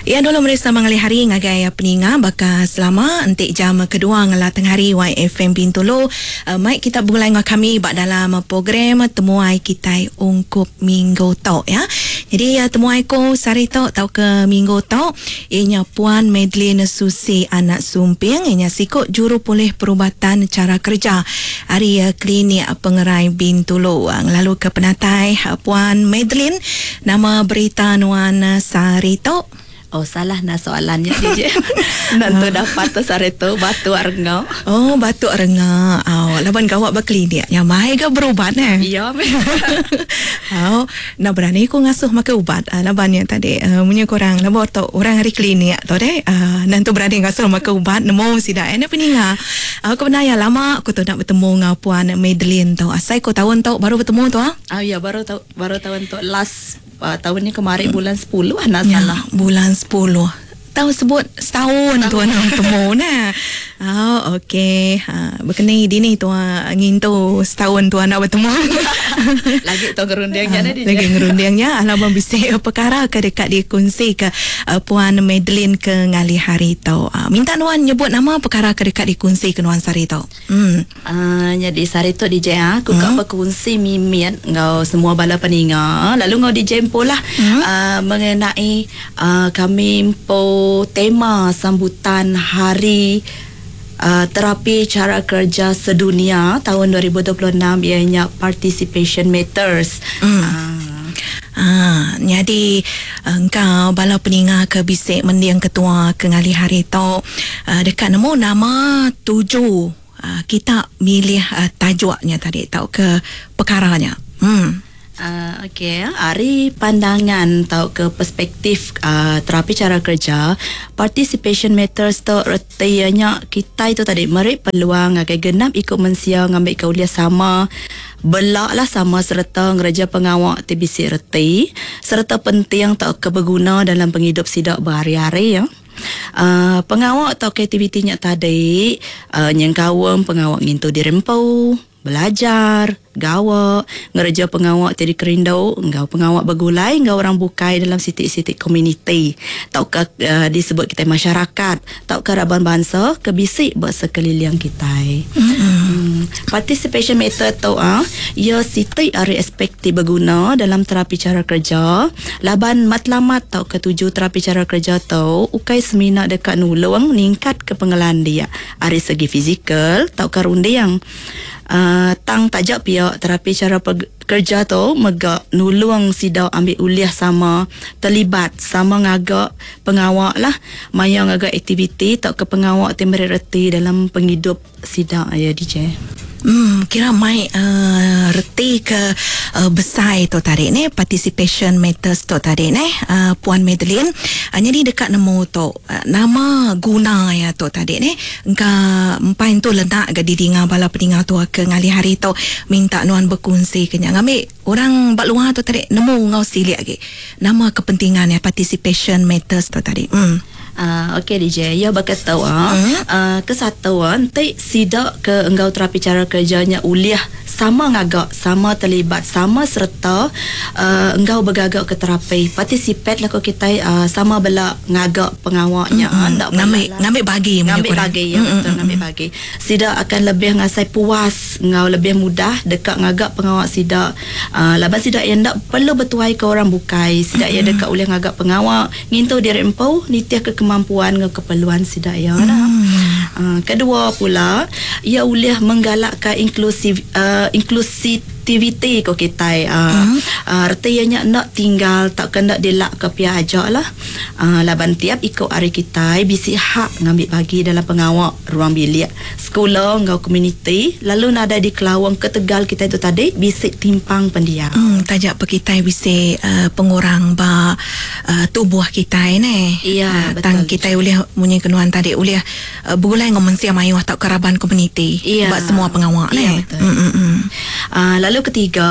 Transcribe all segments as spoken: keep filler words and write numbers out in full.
Ya dulu meri sama ngalih hari ngagai peninga baka selama entik jam kedua ngela tengah hari Y F M Bintulu. Uh, mai kita begulai dengan kami bak dalam program temuai kita ungkup minggu tok ya. Jadi uh, temuai ko sehari tok tau ke minggu tok ianya Puan Madeline Susi Anak Sumping, ianya sikok juru pulih perubatan cara kerja hari uh, klinik Pengerai Bintulu. Uh, lalu ke penatai uh, Puan Madeline, nama berita nuan uh, sehari tok. Oh salah nak soalannya D J. Nanti dapat tu sehari tu batu renga. Oh batu renga. Oh laban gawak berklinik. Yang mai ke berubat eh? Ya. Oh nak berani ku ngasuh makan ubat. Uh, laban yang tadi uh, punya korang laban tu orang hari klinik tu deh. Uh, nanti berani ngasuh makan ubat nemu sida eh peninga. Aku pernah ya lama aku tu nak bertemu dengan Puan Madeline tu. Asai ku tahun tu baru bertemu tu ah. Oh ya baru tahu baru tahun tu last Uh, tahun ni kemarin bulan sepuluh nak ya, salah. Bulan sepuluh. Tahu sebut setahun tuan bertemu nah. Oh okey. Ha berkenai dini tuan ngintu setahun tuan nak bertemu. Lagi tu ngerundingnya ha, lagi ngerundingnya alaban bisik perkara ke dekat dikongsi ke uh, Puan Madeline ke ngalih hari tu. Uh, minta nuan nyebut nama perkara ke dekat dikongsi ke nuan sehari tu. Hmm. Uh, jadi sehari tu D J aku hmm. kak berkongsi mimian ngau semua bala peninga lalu ngau D J pula hmm. uh, mengenai uh, kami empo tema sambutan hari uh, terapi cara kerja sedunia tahun dua ribu dua puluh enam ianya Participation Matters. Hmm. Uh. Ha, jadi engkau bala peninga ke bisik mendiang ketua ke ngalih hari tu uh, dekat nemu nama tuju uh, kita milih uh, tajuknya tadi tau ke perkaranya. Hmm. Uh, Okey, hari pandangan atau ke perspektif uh, terapi cara kerja Participation Matters tu retianya kita itu tadi merik peluang agai genap ikut mensia ngambil kaulia sama belak lah sama serta ngereja pengawak T B C reti serta penting tak keberguna dalam penghidup sidak berhari-hari ya. Uh, pengawak atau aktivitinya tadi uh, nyengkawang pengawak ngintu dirempau belajar, gawak, ngereja pengawak tadi kerindau, enggau pengawak bergulai, enggau orang bukai dalam sitik-sitik komuniti. Tauka uh, disebut kita masyarakat, tauka raban bangsa kebisik buat sekeliling kita. Mm-hmm. Hmm. Participation method tu ah, ia sitik ari aspek ti berguna dalam terapi cara kerja. Laban matlamat tau ketuju terapi cara kerja tu ukai semina dekat nulung ningkat ke pengelandia ari segi fizikal tauka rundiang. Uh, tang tajak pihak terapi cara pe- kerja tu megak nulung sidau ambil uliah sama terlibat sama ngagak pengawak lah maya ngagak aktiviti tak ke pengawak temeri reti dalam penghidup sidau ya D J. Hmm, kira mai uh, reti ke uh, besai tu tadi ni Participation Matters tu tadi ni uh, Puan Madeline. Uh, jadi dekat nemu tu uh, nama guna ya tu tadi ni engka empain tu lenak ke didinga bala peninga tu ke ngalih hari tu minta nuan berkongsi ke nya ngambil orang bak luar tu tadi nemu ngau silik lagi nama kepentingan ya Participation Matters tu tadi. Hmm. Uh, okey D J, ya bakal tahu ah. Hmm? Uh, kesatu ah, nanti sidak ke enggau terapi cara kerjanya uliah sama ngagak, sama terlibat, sama serta uh, enggau bergagak ke terapi. Participate lah ko kita uh, sama belak ngagak pengawaknya. Mm-hmm. Ndak ngambil ngambil bagi ngambil bagi ya mm-hmm. betul ngambil bagi. Sidak akan lebih ngasai puas, ngau lebih mudah dekat ngagak pengawak sidak. Uh, laban sidak yang ndak perlu bertuai ke orang bukai. Sidak mm-hmm. yang dekat uliah ngagak pengawak, ngintu diri empu, nitiah ke kemampuan dengan keperluan sidak ya lah. Hmm. Uh, kedua pula, ia boleh menggalakkan inklusif uh, inklusiviti ko kita. Uh, hmm. uh, artinya nak tinggal tak kena dilak ke pihak ajak lah. Uh, laban tiap ikut hari kita bisi hak ngambil bagi dalam pengawak ruang bilik sekolah ngau komuniti lalu nada di kelawang ke Tegal kita itu tadi bisik timpang pendiam. Hmm, tajak pe kita bisik uh, pengurang ba uh, tubuh kita ni. Ya, uh, betul. Tang kita boleh munyi kenuan tadi boleh uh, bergulai dengan mensia mayuh atau keraban komuniti ya. Buat semua pengawak ya, ni. Betul. Mm, mm, mm. Uh, lalu ketiga,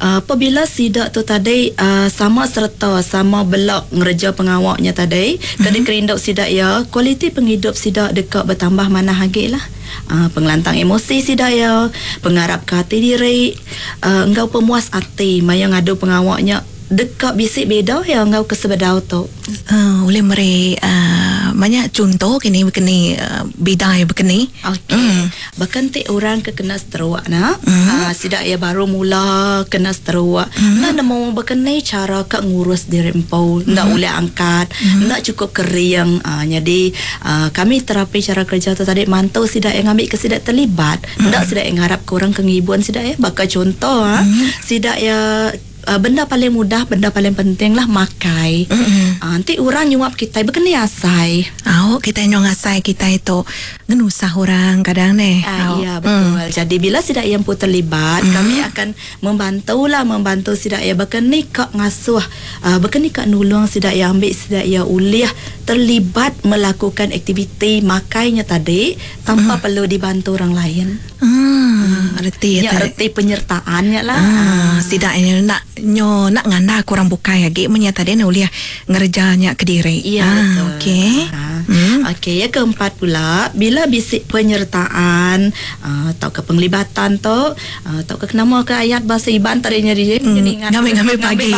uh, apabila sidak tu tadi uh, sama serta sama belak ngereja pengawaknya tadi, mm-hmm. kena kerinduk sidak ya, kualiti penghidup sidak dekat bertambah mana lagi lah. Uh, pengelantang emosi sidak ya, pengarap ke hati diri, uh, engkau pemuas hati maya ngadu pengawaknya Deka bisi beda yang ngau kesebedau tu. Uh, boleh meri uh, banyak contoh kini begini uh, bidai begini. Okey. Mm. Bahkan ti orang ke kena stroke na, mm. uh, sidak ya baru mula kena stroke. Mm. Nak nemu begini cara ke ngurus diri empu, mm. nak boleh angkat, mm. nak cukup kering. Uh, jadi uh, kami terapi cara kerja tu tadi mantau sidak yang ambil ke sidak terlibat, mm. nak sidak yang harap ke orang kengibuan sidak ya. Bakal contoh mm. sidak ya Uh, benda paling mudah, benda paling penting lah makai. Mm-hmm. Uh, nanti orang nyuap kita berkena asai. Oh, kita nyuap asai kita itu ngenusah orang kadang ni. Ah, ya betul. Mm. Jadi bila sidak yang pun terlibat, mm. kami akan membantu lah, membantu sidak yang berkena kak ngasuh, uh, berkena kak nulung sidak yang ambil sidak yang uliah terlibat melakukan aktiviti makainya tadi tanpa mm. perlu dibantu orang lain. Hmm, reti ya, reti penyertaannya lah. Ah, sidak ini nak nyo nak nganda kurang bukai lagi menya tadi nak uliah ngerjanya ke diri. Ya, ah, betul. Okey. Ah. Hmm. Okey, yang keempat pula bila bisik penyertaan atau uh, ke penglibatan tu atau uh, ke nama ke ayat bahasa Iban tadinya dia hmm. ingat ngambil-ngambil bagi.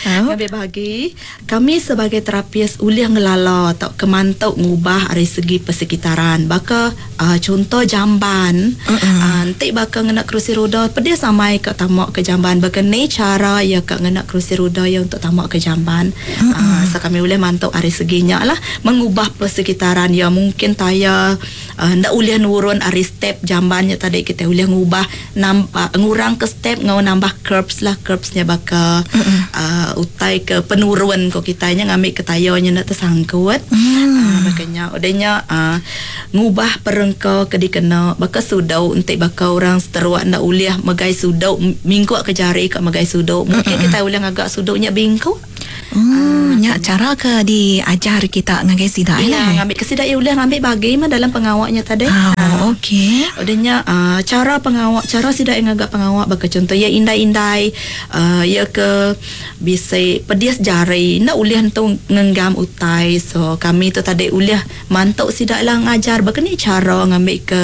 Ngambil bagi. Kami sebagai terapis uliah ngelala atau kemantuk ngubah dari segi persekitaran. Baka uh, contoh jamban. Uh, nanti baka ngena kerusi roda pedih samai ke tamak ke jamban. Baka ni cara ya ke ngena kerusi roda ya untuk tamak ke jamban. Uh-uh. Uh, so kami boleh mantuk dari seginya lah mengubah persekitaran ya mungkin taya uh, ndak boleh nurun ari step jambannya tadi kita boleh ngubah nampak ngurang ke step ngau nambah curbs lah curbsnya baka uh-uh. uh, utai ke penurun ko kitanya ngambil ke tayanya nak tersangkut. Mm. Uh, makanya udahnya uh, ngubah perengka ke dikena baka sudau untuk baka orang seteruak ndak boleh megai sudau minggu ke jari ke megai sudau mungkin uh-uh. kita boleh ngagak sudaunya bingkuk. Oh, nyak cara ke diajar kita ngagai sidak ya, lah. Ngambil ke sidak ya boleh ngambil bagi mah dalam pengawaknya tadi. Oh, okey. Udahnya uh, cara pengawak, cara sidak yang agak pengawak baka contoh ya indai-indai uh, ya ke bisa pedias jari nak ulih tu ngenggam utai. So kami tu tadi ulih mantuk sidak lah ngajar baka ni cara ngambil ke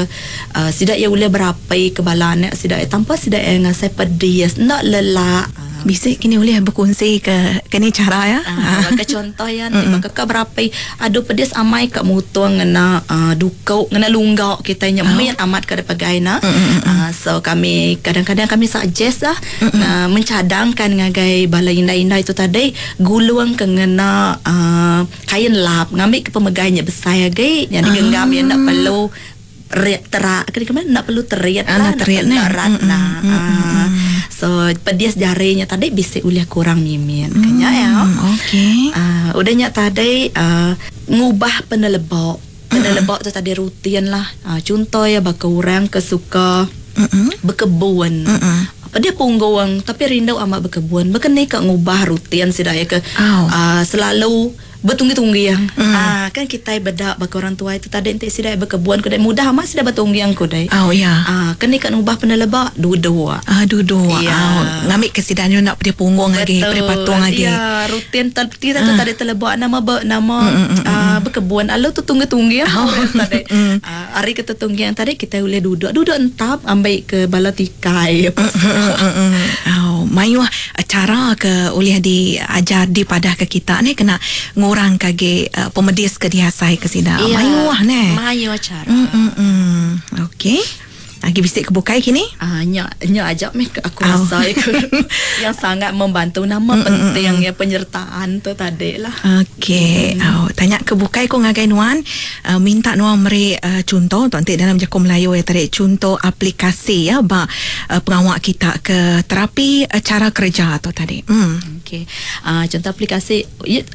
uh, sidak ya ulih berapi ke bala anak sidak tanpa sidak yang ngasai pedias nak lelak. Bisik kini boleh berkongsi ke ke ni cara ya. Ah, baka contoh ya, nanti baka ke berapa adu pedis amai kat mutung ngena uh, dukau ngena lunggak kita nya oh. amat ke depagai na. Uh, so kami kadang-kadang kami suggest lah uh, mencadangkan ngagai bala indai-indai itu tadi guluang ke ngena uh, kain lap ngambil ke pemegainya besar lagi yang digenggam yang nak perlu riak terak ke mana nak perlu teriak lah nak teriak nak rat nah. So pedias jarinya tadi bisa uliah kurang mimin mm, kenya ya. Okey. Uh, udahnya tadi uh, ngubah penelebok. Penelebok tu tadi rutin lah. Uh, contoh ya baka orang ke suka mm-mm. berkebun. Mm-mm. Apa dia punggung tapi rindu amat berkebun. Berkena ke ngubah rutin sidak ya ke oh. uh, selalu bertunggi-tunggi yang. Mm. Ah, kan kita bedak baka orang tua itu tadi entik sidak berkebun kudai mudah amat sidak bertunggi yang kudai. Oh ya. Ah, kena kan ubah penelebak dua-dua. Ah, dua-dua. Ya. Oh, ngambil kesidanya nak dia punggung lagi, dia patung lagi. Ya, rutin kita tu tadi telebak nama ber, nama mm, mm, mm, uh, berkebun. Lalu tu tunggu-tunggi yang oh. tadi. Mm. Ah, hari kita tunggi yang tadi kita boleh duduk, duduk entap ambil ke bala tikai apa. Oh, mayuh cara ke oleh diajar di padah ke kita ni kena ngurang kage uh, pemedis ke dihasai ke sida. Ya, mayuh ne. Mayuh cara. Mm, mm, mm. Okey. Lagi bisik ke bukai kini? Ah, nya nya ajak meh aku oh. rasa yang sangat membantu nama mm, penting mm, ya penyertaan tu tadi lah. Okey. Mm. Oh, tanya ke bukai ko ngagai nuan, uh, minta nuan meri uh, contoh tu nanti dalam jakun Melayu ya tadi contoh aplikasi ya ba uh, pengawak kita ke terapi uh, cara kerja tu tadi. Hmm. Okey. Uh, contoh aplikasi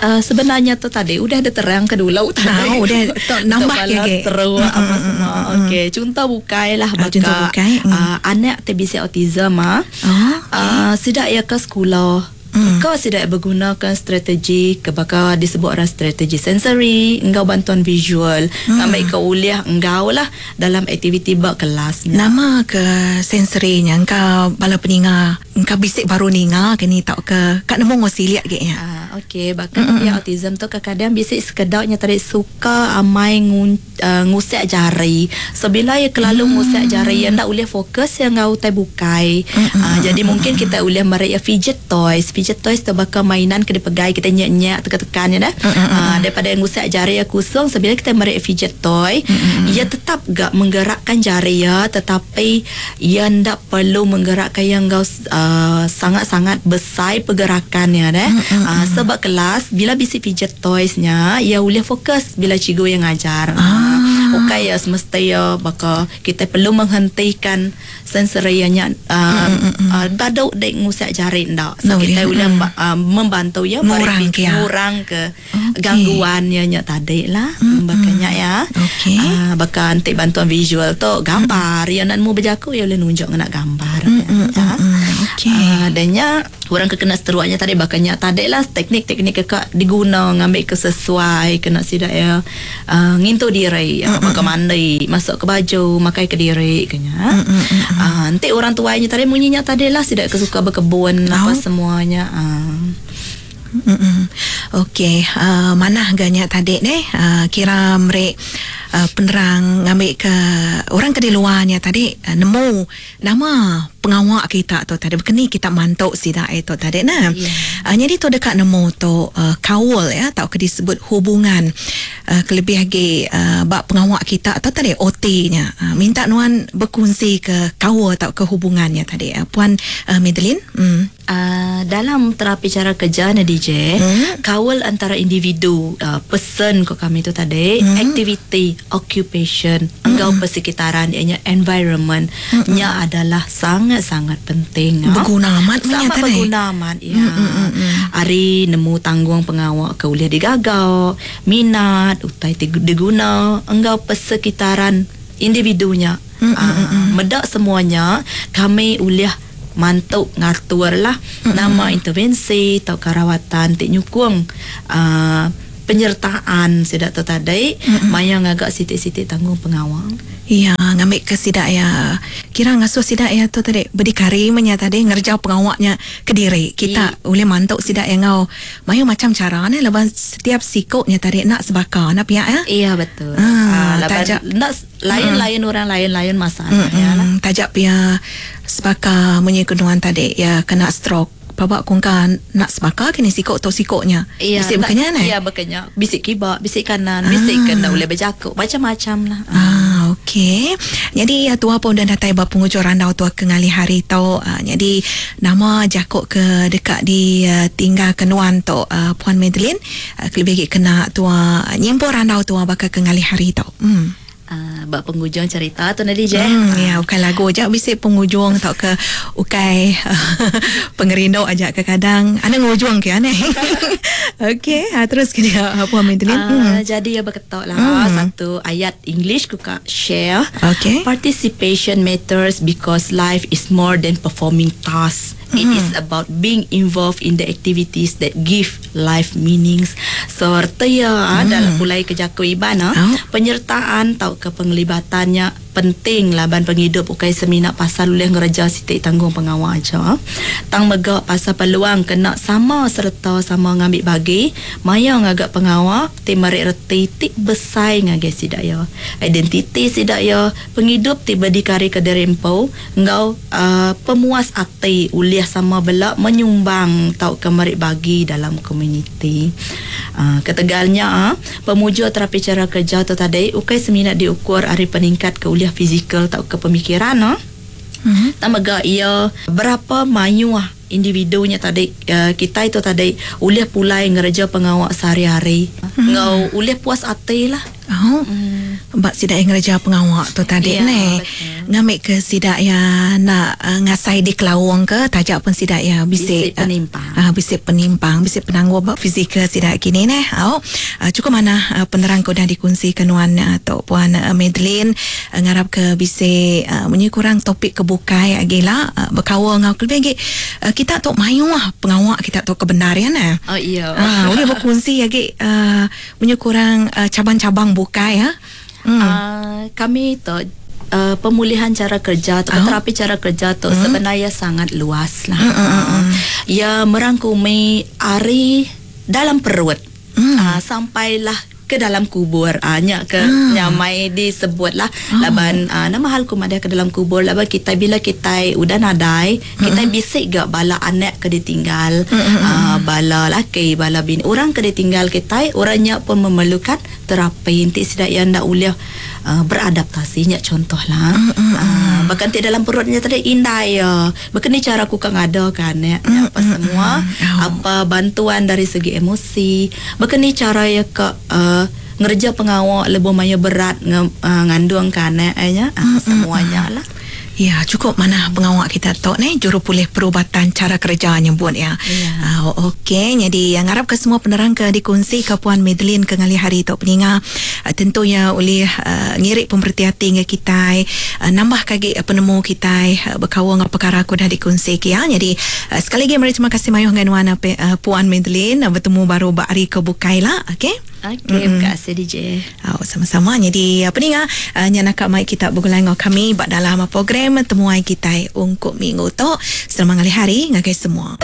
uh, sebenarnya tu tadi udah ada terang ke dulu tadi. Oh, udah nambah lagi. Terus apa semua. Okey, contoh bukai lah uh, contoh bukai. Mm. Uh, anak T B C autism ah. Oh, okay. Uh, sidak ya ke sekolah. Mm. Kau tidak bergunakan strategi kebaka disebut orang strategi sensory engkau bantuan visual mm. ambil kau uliah engkau lah dalam aktiviti bak kelasnya. Nama ke sensorinya engkau bala peninga engkau bisik baru ninga ke ni tak ke kat nemu ngosiliak ge ya. Ah, okey, bahkan mm-hmm. autism tu kadang-kadang bisik sekedaknya tadi suka amai ngun, uh, ngusek jari. So bila ya kelalu mm. ngusek jari ya ndak boleh fokus yang ngau tai bukai. Mm-hmm. Uh, jadi mungkin kita boleh merek ya fidget toys. Fidget toys tu bakal mainan ke dipegai kita nyak-nyak tekan-tekan ya dah. Mm-hmm. Uh, daripada ngusak jari ya kusung, sebila kita merik fidget toy, mm-hmm. ia tetap gak menggerakkan jari ya, tetapi ia ndak perlu menggerakkan yang gau uh, sangat-sangat besar pergerakannya dah. Mm-hmm. Uh, sebab kelas bila bisi fidget toysnya, ia boleh fokus bila cikgu yang ngajar. Ah. Okey ya, semesta ya bakal kita perlu menghentikan sensori yang uh, mm-hmm. uh, baduk dek ngusak jari ndak. So no, kita boleh mm. uh, membantu ya ngurang ke, ngurang ke okay. gangguannya nya tadi lah. Mm-hmm. Bakanya ya. Okey. Uh, bakal antik bantuan visual tu gambar mm-hmm. ya nak mu berjaku ya boleh nunjuk ngena gambar. Mm-hmm. Ya. Okey. Uh, dannya orang kena seteruaknya tadi bakanya tadi lah teknik-teknik kekak diguna ngambil ke sesuai kena sidak ya uh, ngintu diri ya, mm-hmm. bakal mandi masuk ke baju makai ke diri kenya. Mm-hmm. Uh, nanti orang tuanya tadi bunyinya tadi lah sidak kesuka berkebun oh. apa semuanya. Uh. Mm-mm. Okey, uh, mana ganya tadi ni uh, kira merek uh, penerang ngambil ke orang ke di luarnya tadi uh, nemu nama pengawak kita tu tadi berkeni kita mantuk sidak itu tadi nah. Yeah. Uh, jadi tu dekat nemu tu uh, kaul ya atau ke disebut hubungan uh, kelebih lagi uh, bab pengawak kita atau tadi O T-nya. Uh, minta nuan berkongsi ke kaul atau ke hubungannya tadi. Uh, Puan uh, Madeline. Hmm. Uh, dalam terapi cara kerja ni D J, hmm? kawal antara individu, uh, person ko kami tu tadi, hmm? activity, occupation, hmm. engkau persekitaran, ianya environment, hmm. nya adalah sangat-sangat penting. Berguna amat sangat tadi. Berguna amat ya. Hmm, hmm, hmm, hmm. Ari nemu tanggung pengawak ke uliah digagau, minat, utai diguna, engkau persekitaran individunya. Hmm, uh, hmm, hmm. Medak semuanya kami uliah mantuk ngatur lah mm-hmm. nama intervensi atau karawatan tik nyukung uh, penyertaan sidak tu tadi mm-hmm. maya ngagak sitik-sitik tanggung pengawang. Ya, ngambil ke sidak ya. Kira ngasuh sidak ya tu tadi berdikari menya tadi ngerja pengawaknya ke diri. Kita I. boleh mantuk sidak yang ngau. Mayu macam cara ni lepas setiap sikoknya tadi nak sebaka nak pihak ya. Iya betul. Ah, ah tajak nak lain-lain mm. orang lain-lain masalah mm-mm. ya lah. Tajak pihak sebaka menyekunuan tadi ya kena stroke. Babak kongka nak sebaka kini sikok atau sikoknya. Iya, bisik berkenya ni. Iya berkenya. Bisik kibak, bisik kanan, bisik ah. kena boleh berjakuk, macam-macam lah. Ah, okey. Jadi ya tua pun dah datai ba penghujung randau tua ke ngali hari tu. Uh, jadi nama jakuk ke dekat di uh, tinggal kenuan tu uh, Puan Madeline uh, kelebih kena tua nyimpul randau tua bakal ke ngali hari tu. Hmm. Uh, bab penghujung cerita tu nanti je. Hmm, ya, bukan lagu je bisik penghujung tau ke ukai pengerindu ajak ke kadang. Ana ngujung ke aneh. Okey, ha, terus ke dia Puan Madeline. Uh, hmm. Jadi ya berketok lah hmm. satu ayat English ku kak share. Okey. Participation matters because life is more than performing tasks. It Mm-hmm. is about being involved in the activities that give life meanings. So, artinya Mm. dalam pulai ke jaku iban, Oh. penyertaan tau ke penglibatannya penting laban penghidup ukai semina pasal ulih ngereja sitik tanggung pengawal aja. Tang megak pasal peluang kena sama serta sama ngambil bagi, maya ngagak pengawal ti merik reti ti besai ngagai sidak ya. Identiti sidak ya, penghidup ti berdikari ke derempo, ngau uh, pemuas ati ulih sama belak menyumbang tau ke merik bagi dalam komuniti. Uh, ketegalnya uh, pemuja terapi cara kerja tu tadi ukai semina diukur ari peningkat ke uliah fizikal atau ke pemikiran no. Mm-hmm. Tak mega ia berapa mayuah individunya tadi uh, kita itu tadi uliah pulai ngereja pengawak sehari-hari. Mm-hmm. Ngau uliah puas ati lah. Oh. Hmm. Bak sidak yang ngereja pengawak tu tadi Ya, ni. betul. Ngambil ke sidak ya nak uh, ngasai di kelawang ke tajak pun sidak ya bisik Bisik penimpang. Uh, uh, bisik penimpang, bisik penangguh bak fizikal sidak kini ni. Oh. Uh, cukup mana uh, penerang kau dah dikongsi ke nuan uh, Tok Puan uh, Madeline uh, ngarap ke bisik uh, munyi kurang topik kebukai lagi lah uh, berkawal ngau kelebih lagi uh, kita tok mayu lah pengawak kita tok kebenaran eh. Oh iya. Ah, boleh berkongsi lagi uh, munyi kurang uh, cabang-cabang bukai ya. Hmm. Uh, kami tu uh, pemulihan cara kerja atau Oh. terapi cara kerja tu Hmm. sebenarnya sangat luas lah. Hmm, hmm, hmm, hmm. Ia merangkumi ari dalam perut Hmm. uh, sampailah ke dalam kubur. Ah, nya ke ah. nyamai disebut lah. Oh. Laban ah, nama hal ku madah ke dalam kubur laban kita bila kita udah nadai, kita uh-huh. bisik gak bala anak ke ditinggal, uh-huh. ah, bala laki, bala bini, orang ke ditinggal kita, orangnya pun memerlukan terapi inti sidak yang ndak boleh uh, beradaptasi nya contoh lah. Uh-huh. Ah, bahkan ti dalam perutnya tadi indai ya. Bahkan ni cara aku kan ada kan ya, uh-huh. apa semua, uh-huh. apa bantuan dari segi emosi, bahkan ni cara ya ke uh, ngerja pengawak lebih maya berat nge, uh, ngandung kan ya, ya. Uh, semuanya lah. Ya, cukup mana pengawak kita tok ni juru pulih perubatan cara kerja nyebut ya. Ya. Uh, okey, jadi yang harap ke semua penerang ke dikongsi ke Puan Madeline ke ngalih hari tok peninga uh, tentunya oleh uh, ngirik pemerhati hati dengan kita uh, nambah kagi uh, penemu kita uh, berkawal dengan perkara aku dah dikongsi ke ya. Jadi uh, sekali lagi mari terima kasih mayuh dengan Wan uh, Puan Madeline uh, bertemu baru bak hari ke bukai lah, okey. Okey, terima kasih D J. Oh, sama-sama. Jadi apa ni ngah uh, nyak nak mai kita bergulai dengan kami bak dalam program temuai kita ungkup minggu tu. Selamat ngalih hari ngagai semua.